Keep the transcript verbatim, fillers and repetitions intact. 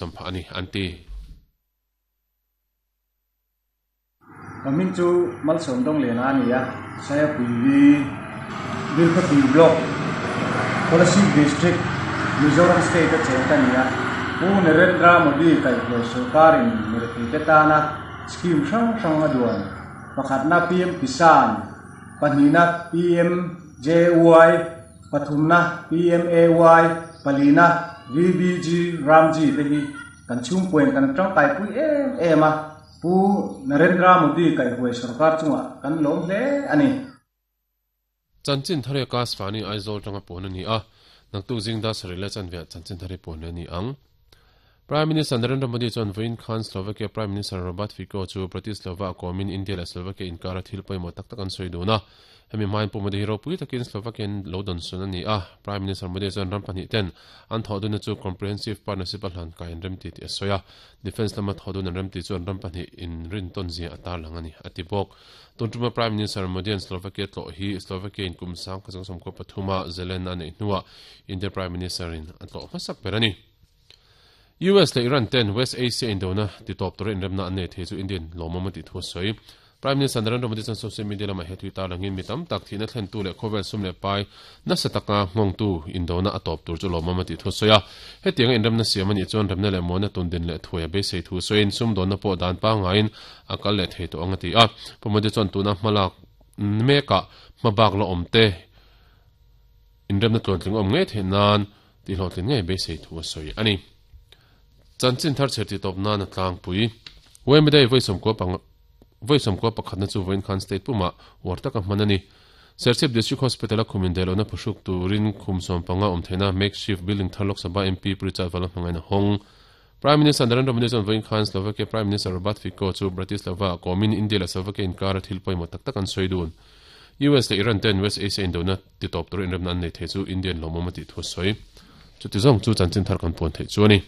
Sampha ani anti Kamin chu malsom dong le na ani a saya puivi Bilkhawthlir block Kolasib district Mizoram state a cheng ta ni a Pu Narendra Modi kai hruai sarkarin mirthi te tana scheme hrang hrang a duan pakhatna P M Kisan pahnihna P M J Y pathumna P M A Y palina V B G Ramji te hi kan chhungpuain kan tangkai pui em em a Pu Narendra Modi kai hruai sarkar chunga kan lawm hle ani. Chanchin thare kas fani Aizawl tanga pon ani a naktu jingda sarila chanve chanchin thare pon ani ang. Prime Minister Narendra Modi chon Voin Khan Slovakia Prime Minister Robert Fico chu Bratislava komin India la Slovakia inkara thil poimo tak tak an soi duna hemi main pu Modi hero pui takin Slovakian lodon sun ani a. Prime Minister Modi chon rampani ten an thoduna chu comprehensive partnership hlan ka in remti ti soya defense lama thodun an remti chuan rampani in rin ton zia atar langani atibok. Tuntuma Prime Minister Modi an Slovakia tlo hi Slovakia in kumsang khasang somko pathuma zelen ani nuwa India Prime Minister in atlo masak berani. U S le Iran ten West Asia Indona ti top tor in remna ane the chu Indian lomama ti thu soi. Prime Minister Narendra Modi chan social media lama he tui ta langin mitam tak thina thlen tu le khovel sum le pai na sataka ngong tu Indona atop tur chu lomama ti thu soya he tiang in remna siamani chuan remna le mona tun din le thuya be sei thu soin sum don na po dan pa ngain akal le thei to angati a. Pumadi chuan tuna hmalak meka mabak lo omte in remna tlon tling om nge the nan ti hlotlin nge be sei thu soi ani. Chanchin thar cherti top na na tlang pui wemdei voisom ko pang voisom ko pakhatna chu voin khan state puma warta ka manani Serchhip District Hospital a khumin delona phusuk turin khumsom panga omthena makeshift building tharlok Sabha M P Richard Vala mangaina hong. Prime Minister Narendra Modi chon voin khan Slovakia Prime Minister Robert Fico chu Bratislava komin India la Slovakia inkar thil poimo tak tak an soidun. U S le Iran ten West Asia Indona ti top tur in remna nei the chu Indian lomoma ti thu soi chu ti zong chu chanchin thar kan pon the chu ani.